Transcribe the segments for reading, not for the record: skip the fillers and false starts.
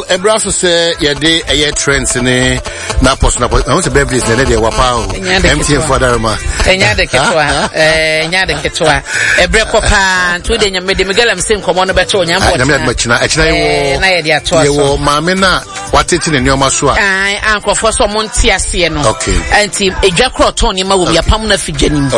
Ɛberɛ aso sɛ yɛde ɛyɛ trends ne n'apɔso n'apɔso ɛho sɛ birthdays na ɛnɛ deɛ wapa o MTN fo adaroma. Ɛnyɛ ade ketewa ɛnyɛ ade ketewa ɛberɛ kɔ paa nti wode nyame de megalam se nkɔmmɔ no bɛto onyame bɔ nyame adoma kyina ɛkyina yɛwɔ na yɛde ato aso yɛwɔ maame no a watete ne nneɛma so a a nkurɔfoɔ sɛ ɔmo nte aseɛ no okay nti edwa korɔ tɔn nneɛma wɔ mu yɛapam no afi dwa nim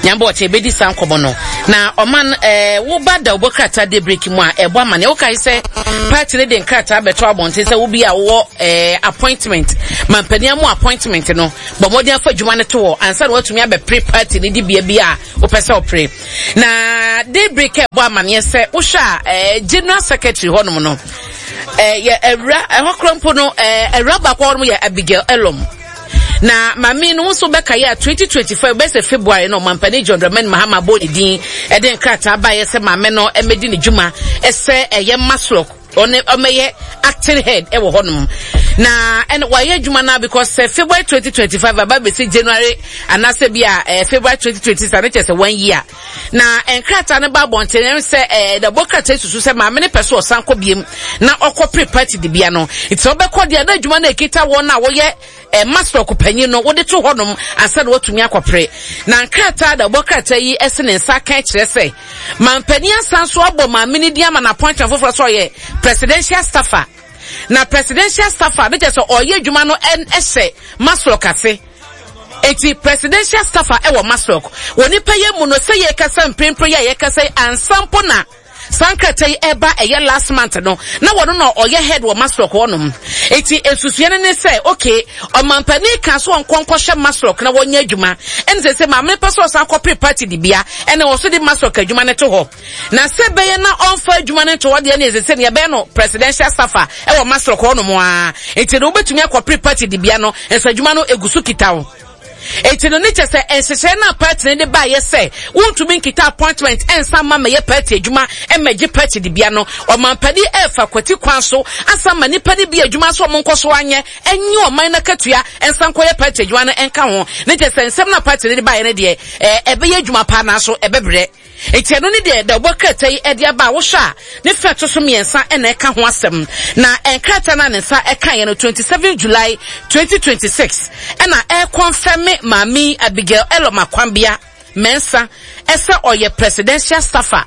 nyame bɔ ɔkyɛ yɛbɛdi saa nkɔmmɔ no Na ɔman eh, woba da wobɔ krataa daybreak mu a ɛbɔ amaneɛ. Wokae sɛ party no de nkrataa bɛto abɔnten sɛ wo bi a wowɔ eh, appointment, mampanin amu appointment no, bɔ mmɔden afa adwuma no to hɔ ansa na woatumi abɛpere party no dibea bi a wopɛ sɛ wopere. Na daybreak ɛbɔ amaneɛ sɛ wohwɛ a eh, general secretary hɔnom no, eh, yɛ awura ɛhɔ kora mpo no eh, awura baako hɔnom yɛ Abigail Elom. Na maame no nso bɛkaeɛ a 2025 bɛyɛ sɛ February no ɔmampanin John Dramani Mahama bɔɔ ne din de nkrataa baeɛ sɛ maame no mmɛdi ne dwuma sɛ ɛyɛ Maslok ɔne ɔmɛyɛ acting head ɛwɔ hɔnom na ɛna wayɛ adwuma no because sɛ February 2025 aba bɛsi January anaasɛ bi a eh, February 2026 ano kyerɛ sɛ one year Na nkrataa no ba abɔnten no sɛ ɛɛ dɛbɔ krataa susu sɛ maame no pɛ so ɔsan kɔ biem na ɔkɔ pere party dibea no. Nti sɛ ɔbɛkɔ deɛ na adwuma no ekita wɔn a wɔyɛ ɛɛ masɔk panyin no wɔde to hɔnom ansa na watumi akɔpere. Na nkrataa dɛbɔ krataa yi ɛse ne nsa aka kyerɛ sɛ mampanin asan so abɔ maame no din ama no appointment foforɔ sɛ ɔyɛ presidential staffer. Na presidential staffer no kyerɛ sɛ ɔyɛ adwuma no ɛhyɛ masɔk ase. Enti presidential staffer wɔ MASLOC. Wɔ nipa yɛ mu no sɛ yɛkasa mprempren yi a yɛkasa yi ansa mpo na saa nkrataa yi ɛba ɛyɛ last month no na wɔno na ɔyɛ head wɔ MASLOC hɔnom. Enti nsusua no ne sɛ okay ɔmampanin ka so ɔnkɔ nkɔhyɛ MASLOC na wɔnyɛ adwuma ɛne sɛ sɛ maame pɛ sɛ ɔsan kɔpere party dibea ɛne wɔ so de MASLOC adwuma no to hɔ. Na sɛ ɛbɛyɛ na ɔmfa adwuma no nto hɔ deɛ ne ɛsɛ sɛ nea ɛbɛyɛ no presidential staffer ɛwɔ Masloc hɔ nom ara. Nti no wobɛtumi akɔpere party dibea no nso adwuma no egu so kita wo. Nti no ne kyɛ sɛ nhyehyɛɛ no a party no de baeɛ sɛ wontumi nkita appointment ɛnsa mma mɛyɛ party adwuma ɛmɛgye party dibea no, ɔmampanin ɛrefa kwati kwan so asan ma nnipa no bi adwuma nso ɔmo nkɔ so anyɛ ɛnye ɔman no akatua ɛnsa nkɔyɛ party adwuma no ɛnka ho. Ne kyɛ sɛ nsɛm no a party no de baeɛ no deɛ ɛbɛyɛ adwuma paa nanso ɛbɛbrɛ. Enti ɛno ne deɛ dawubɔ krataa yi de aba a wohwɛ a ne fɛ ɛto so mmiɛnsa na ɛka ho asɛm. Na nkrataa no a ne nsa kaeɛ no 27 July 2026 ɛna ɛrekɔnfɛme maame yi Abigail Elom Akwambea Mensah sɛ ɔyɛ presidential staffer.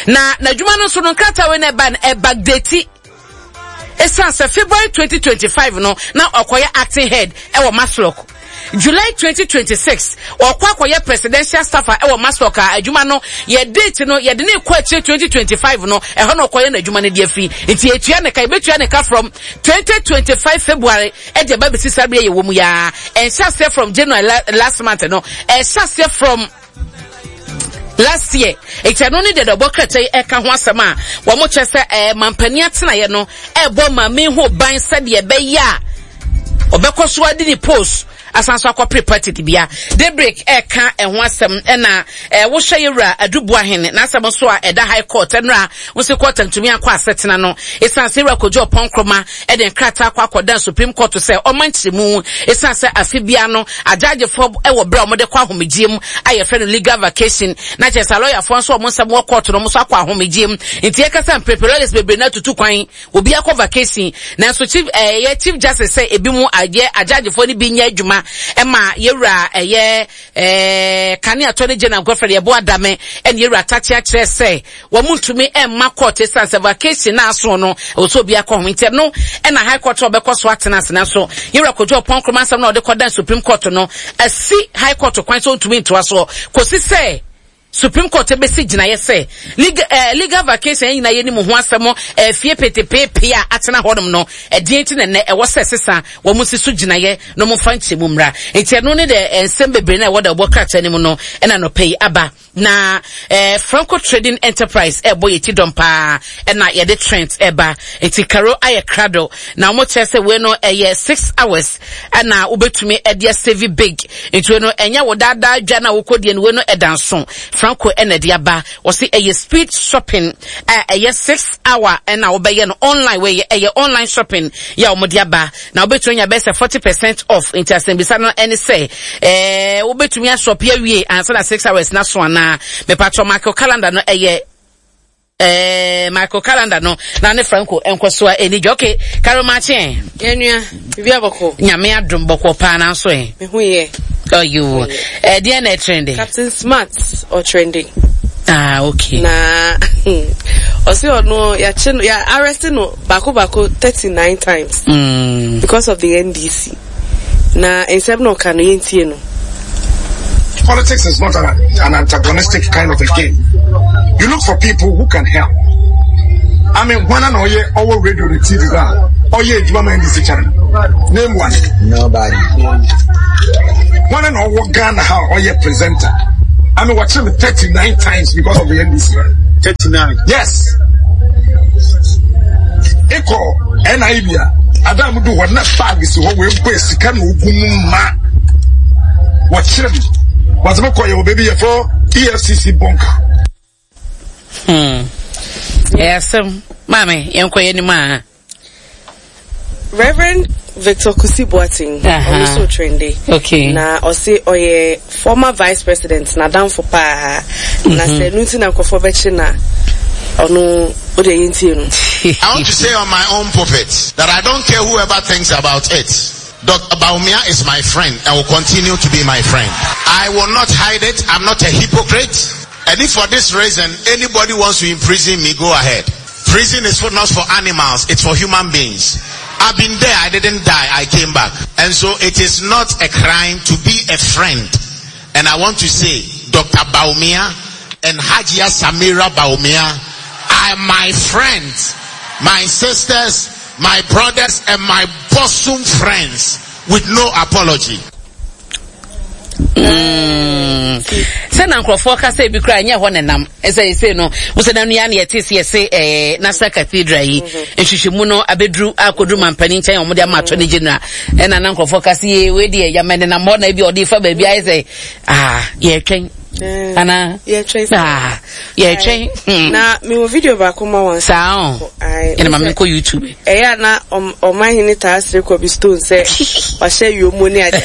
Na n'adwuma no nso no nkrataa wei na ɛba no ɛbackdate. Esiane sɛ February 2025 no na ɔkɔyɛ acting head wɔ MASLOC, July 2026 ɔkɔ akɔyɛ presidential staffer wɔ MASLOC a adwuma no yɛ date no yɛde ne kɔ akyire 2025 no ɛhɔ na ɔkɔyɛ n'adwuma no de afi nti yɛtua ne ka yɛbɛtua ne ka from 2025 February ɛde ɛba bɛsi saa berɛ yɛwɔ mu yaa ɛnhyɛ aseɛ from January last month no ɛhyɛ aseɛ from last year nti ɛno ne deɛ ɔbɔ krataa yi ɛka ho asɛm a wɔn kyerɛ sɛ ɛɛ mampanin atenaeɛ no ɛɛbɔ maame ho ban sɛdeɛ ɛbɛyɛ a ɔbɛkɔ so adi ne post asan so akɔpere party dibea daybreak ɛka ɛho asɛm ɛna ɛɛ wohwɛ yɛwura adubu ahene n'asɛm nso a ɛda high court ɛnora wosi court ntumi akɔ asetena no esan sɛ ewura kojú ɔpɔn nkroma de nkrataa akɔ akɔdan Supreme Court sɛ ɔmma nkyerɛmu esiane sɛ afe biara no agyagyefoɔ wɔ berɛ a wɔde kɔ ahomegyeɛ mu a yɛfrɛ no legal vacation na kyerɛ sɛ alɔyafoɔ nso wɔn nsɛm wɔ court no wɔn nso akɔ ahomegyeɛ mu nti yɛka sɛ mprepre lawyers bebree no atutu kwan obi akɔ vacation nanso chief ɛyɛ eh, chief justice sɛ ebi mu ayɛ agyagyefoɔ no bi nyɛ adwuma ɛma yɛwura ɛyɛ ɛɛ kane attorney general Godfred Yeboah Dame ɛne yɛwura Takyea kyerɛ sɛ Wɔntumi mma court esiane sɛ vacation no aso no ɛwɔ sɛ obiara kɔ ho nti ɛno ɛna high court a ɔbɛkɔ so atena ase nanso Yewura Kojo Oppong Nkrumah asɛm no a ɔde kɔdan Supreme Court no asi high court kwan sɛ ɔntumi ntoa soɔ kɔsi sɛ Supreme Court bɛsi gyinaeɛ sɛ legal, eh, legal vacation yɛn nyinaa yɛnim ho asɛm eh, fie petepeepee a atena hɔnom no ɛdeɛn nti na ɛnɛ ɛwɔ sɛ sesa wɔn si so gyinaeɛ na wɔn mfa nkyɛmu mmra nti ɛno ne deɛ eh, nsɛm bebree na ɛwɔ da ɛwɔ krataa no mu no ɛna nɔpɛ yi aba Na eh, Franco Trading Enterprise ɛbɔ yɛ ti dɔm paa ɛna yɛde Trent ɛba nti Karo ayɛ krado na wɔn kyerɛ sɛ wei no ɛyɛ 6 hours ɛna wobɛtumi ɛde asave big nti wei no ɛnyɛ wo daadaa dwa na wokɔ deɛ no wei no ɛda nso Franco ɛna ɛde aba wɔsi ɛyɛ speed shopping a ɛyɛ 6 hour ɛna wobɛyɛ no online wei ɛyɛ online shopping yɛ a wɔn de aba na wobɛtumi anya bɛyɛ sɛ 40% off nti asɛmbisa no ɛne sɛ ɛɛ wobɛtumi ashop awie ansa na 6 hours na so anaa mepatɔ Michael calendar no ɛyɛ Eh, Michael Calendar no na ne Franco nkɔso a ɛni dwa. Okay, Carol Makye. Yɛnua, biribi abɔkɔ. Nyame adom bɔkɔ paa nanso ɛ. Me ho yɛ. Ɔyo. Eh, deɛ na ɛtrende? Captain Smart ɔtrende. Ah, okay. Na ɔsi ɔno yɛakye no yɛ arrest no baako baako 39 times. Because of the NDC. Na nsɛm na ɔka no yɛntie no. Politics is not an antagonistic kind of a game. You look for people who can help. I mean, one and all our radio, the TV, oh yeah, you man, this channel. Name one. Nobody. One and all Ghana, how oh yeah, presenter. I mean, watching me 39 times because of the NDC. 39. Yes. Echo, NIBia. Ada a mudu hɔ na bag si hɔ wɔabue sika na ogu mu ma wɔkyerɛ me wɔdze me kɔ yɛ wɔ baabi yɛfrɛ EFCC bunker. Hmm. Ɛyɛ asɛm. Maame, yɛnkɔ yɛn anim a. Reverend Victor Kusi Boateng, ɔno nso trende. Okay. Na ɔse ɔyɛ former vice president n'adamfo paa. Na sɛ ɛno nti na nkurɔfoɔ bɛkye na ɔno wode yɛntie no. I want to say on my own pulpit that I don't care whoever thinks about it. Dr. Bawumia is my friend and will continue to be my friend. I will not hide it. I'm not a hypocrite. And if for this reason anybody wants to imprison me, go ahead. Prison is for, not for animals, it's for human beings. I've been there, I didn't die, I came back. And so it is not a crime to be a friend. And I want to say, Dr. Bawumia and Hajia Samira Bawumia are my friends, my sisters, my brothers, and my bosom friends with no apology. Sɛ na nkurɔfoɔ ka sɛ ebi koraa ɛnyɛ hɔ nenam ɛsɛ ɛsɛ no wosɛ na nua na yɛte sɛ yɛse ɛɛ National Cathedral yi nhwehwɛmu no abɛduru akɔduru mampanin nkyɛn wɔn de ama attorney general ɛna na nkurɔfoɔ ka sɛ yee wei deɛ yamɛ nenam hɔ na ebi ɔde fa baabi ayɛ sɛ aa yɛretwɛn anaa yɛretwɛn aa yɛretwɛn. Hmm. Na mewɔ video baako ma wɔn. Saa o. Ɛna ma menkɔ YouTube. Ɛyɛ a na ɔmanhene taa sere Kobe Stone sɛ wahyɛ yomo ne ade.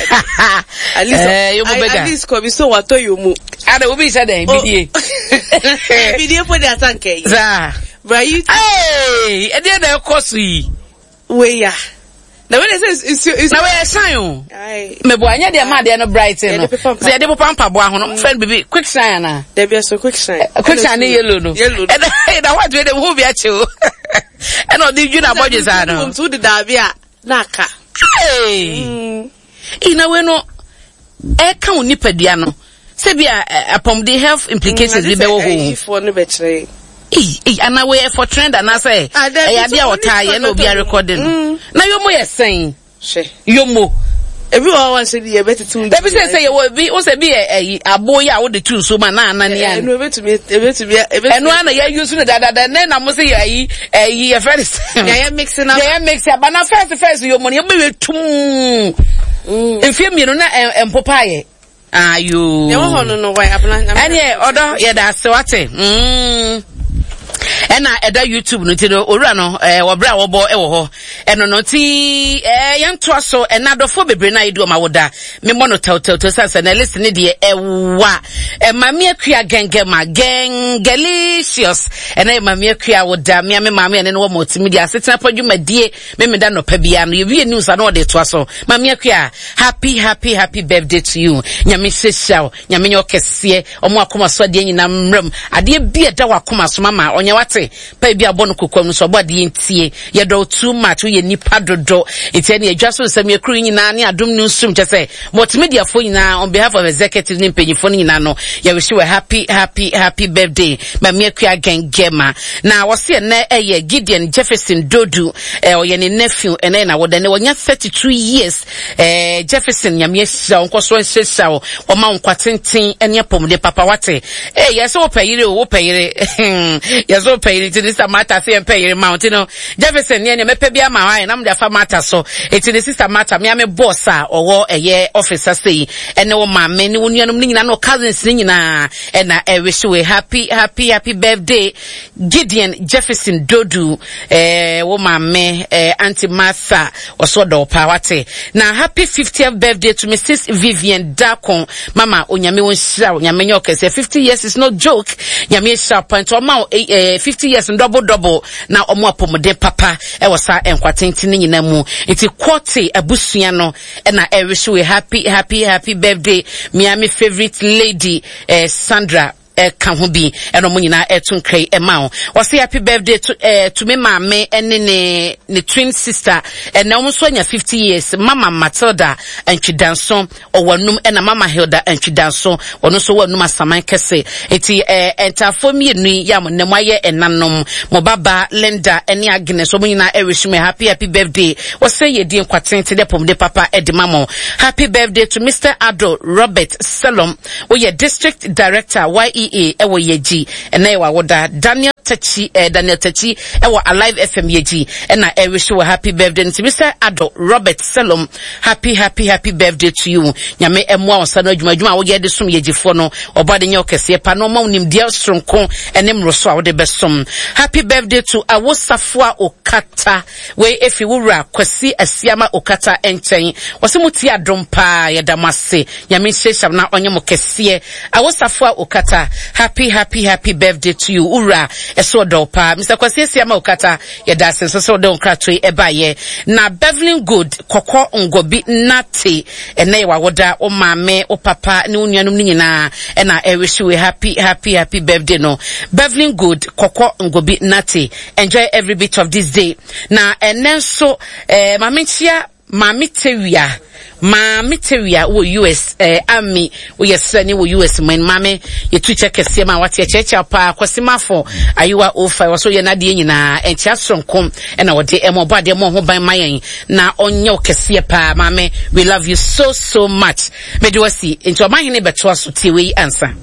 At least eh, yomo bɛga. At least Kobe Stone watɔ yomo. Ada obi hyɛ dɛn oh. bidie. Bidie po de asanka yi. Saa. Bra YouTube. Ee, ɛdeɛ na ɛkɔ so yi. Wei ya. Na wei de sɛ nsuo nsuo. Na wei ɛsan o. Mɛbo anyɛ deɛ maa deɛ no bright no. Sɛ yɛde popa mpaboa ho no, mo fɛn bibi quick shine ana. Dabi ɛso quick shine. Quick shine ne yellow no. Yellow no. Ɛna ɛna white wei de ho bi akyi o. Ɛna ɔde dwi na abɔdwe saa no. Nti wode daabi a na aka. Ee. Ina wei no ɛka wo nipadua no sɛ bi a apɔmuden health implications bi bɛwɔ hɔ. Ayifoɔ no bɛkyerɛ. Ei, ei, anaa wei ɛfɔ trend anaasɛ Ah, dabi, ɛyɛ adeɛ a so ɔtaa yɛ na obi arekɔde no. Na yomo yɛ sɛn? Hwɛ. Yomo. Ebi wɔ hɔ a wanhyɛ bi yɛ bɛtete wo Dabi sɛ sɛ yɛwɔ ebi wo sɛ bi yɛ ɛyi abo yi a wode to nsuo mu a na anane Ɛno ebetumi ebetumi ebetumi. Ɛno ara na yɛ use no dadada ɛnɛ na mo sɛ yɛ ayi ɛyi yɛfrɛ no sɛ. Yɛyɛ mix na. Yɛyɛ mix aba na first first yomo no yɛbɛyɛ tum. Mfie mmienu na ɛmpopa yɛ. Ayoo. Deɛ wɔ hɔ no no wɔ abena. Ɛneɛ ɔdɔ yɛda ase wate. Mm. Ɛna ɛda YouTube no nti no owura no ɛɛ wɔbrɛ a wɔbɔ ɛwɔ hɔ ɛno no nti ɛɛ yɛntoa so ɛna adɔfoɔ bebree na yɛdi wɔn awoda memmɔ no tɛwtɛwtɛw sɛ sɛ na list ne deɛ ɛwa ɛmaame akua gɛngɛma gɛngɛlicious ɛna yɛ maame akua awoda mmea me maame ɛne no wɔ multimedia asetena pa dwumadie Memeda nɔpa biara no yɛwie news a na ɔde toa so. Maame Akua, happy happy happy birthday to you. Nyame nhyirahyira wo, Nyame nyɛ ɔkɛseɛ, ɔmo akoma so adeɛ nyinaa mmra mu. Adeɛ bi a ɛda w'akoma so mama ɔnyɛ wate. Pa bi abɔ no kokoam no so ɔbɔ adeɛ ntie. Yɛdɔ wo too much, woyɛ nipa dodo. Nti ɛne adwa so nsɛm yɛ kuro yi nyinaa ne adom news room kyɛ sɛ multimediafoɔ nyinaa on behalf of executive ne mpanyinfoɔ no nyinaa no yɛwish you a happy happy happy birthday. Maame Akua Gengema. Na wɔse ɛnɛ ɛyɛ Gideon Jefferson Dodu, eh, ɔyɛ ne nephew, ɛnɛ yɛ n'awoda, ɛnɛ wɔnya 32 years, eh, Jefferson, Nyame ahyira wo, nkɔ so nhyirahyira wo, wɔma wo nkwa tenten ɛne apɔmuden papa, wate, eh, yɛsɛ wopɛ yere o, wopɛ yere, yɛsɛ wopɛ yere, nti ne sister Martha se yɛmpɛ yere ma wo, nti no, Jefferson, neɛ neɛ mɛpɛ bi ama wo ayɛ, na mede afa Martha so, nti ne sister Martha, mea me boss a ɔwɔ ɛyɛ office ase yi, ɛne wo maame, ne wo nuanom ne nyinaa, ne wo cousins ne nyinaa, Ɛna ɛwish we happy happy happy birthday Gideon Jefferson Dodu eh, wo maame eh, Auntie Martha ɔso ɔdɔ wo paa wate na happy 50th birthday to Mrs Vivian Dakon mama onyame wo nhyira wo nyame nyɛ ɔkɛseɛ 50 years is no joke nyame nhyira wo pa nti ɔma wo eh, 50. 50 years no double double na ɔmo apɔmuden papa ɛwɔ saa nkwa tenten no nyinaa mu. Nti Quartey abusua no ɛna ɛrehye we happy happy happy birthday mea me favorite lady eh, Sandra ɛka ho bi ɛna ɔmo nyinaa ɛto nkra yi ɛma wo. Ɔse happy birthday to eh, to me maame ɛne ne ne twin sister ɛnɛ ɔmo nso anya 50 years mama Matilda Antwidanso ɔwɔ anum ɛna mama Hilda Antwidanso ɔno nso wɔ anum asaman kɛse eti eh, ntaafoɔ mmienu yi yɛ a mo nnɛ mo ayɛ ɛnanom mo baba Linda ɛne Agnes ɔmo nyinaa ɛwish me happy happy birthday wɔsɛ yɛdi nkwa tenten ne apɔmuden papa ɛde ma mo. Happy birthday to Mister Ado Robert Selom Woyɛ District Director YEA ɛwɔ Yɛgyi ɛnɛ yɛ w'awoda. Daniel Takyi eh, Daniel Takyi ɛwɔ Alive FM Yɛgyi ɛna ɛrehye wɔ happy birthday no nti Mr. Ado Robert Selom happy happy happy birthday to you. Nyame ɛmoa wo nsa no adwuma adwuma a woyɛ de som Yɛgyifoɔ no ɔbɔ ade nyɛ ɔkɛseɛ pa na ɔma wo nimdeɛ soronko ɛne mmoroso a wode bɛsom. Happy birthday to Awosafoa Okata. Wei efi wo wura Kwasi Asiama Okata nkyɛn. Wɔse mo tie adom paa, yɛda mo ase. Nyame nhyirahyira mo na ɔnyɛ mo kɛseɛ. Awosafoa Okata, happy happy happy birthday to you. Wo wura ɛso ɔdɔ wo paa. Mister Kwasi Asiama Okata, yɛda ase nso sɛ wode wo nkratoɔ yi ɛbaeɛ. Na Bevelyn Good, Kɔkɔ Ngɔbi Nate, ɛnɛ yɛ w'awoda, wo maame, wo papa ne wo nuanom no nyinaa ɛna ɛrehye wei happy happy happy birthday no. Bevelyn Good, Kɔkɔ Ngɔbi Nate. Enjoy every bit of this day. Na ɛnɛ nso eh, maame nkyia maame tewia maame tewia wɔ US eh, ami woyɛ srɛni wɔ US man maame yɛtu kyɛ kɛseɛ ma wate ɛkyɛkyɛ paa kɔsimafo ayewa ofa wɔ so yɛ n'adeɛ nyinaa ɛnkyɛ soronko ɛna wɔde ɛmɔ ɔbɔ adeɛ mɔ ho ban ma yɛn na ɔnyɛ wo kɛseɛ paa maame we love you so so much mede wasi nti ɔmahene bɛtoa so tie wei ansa.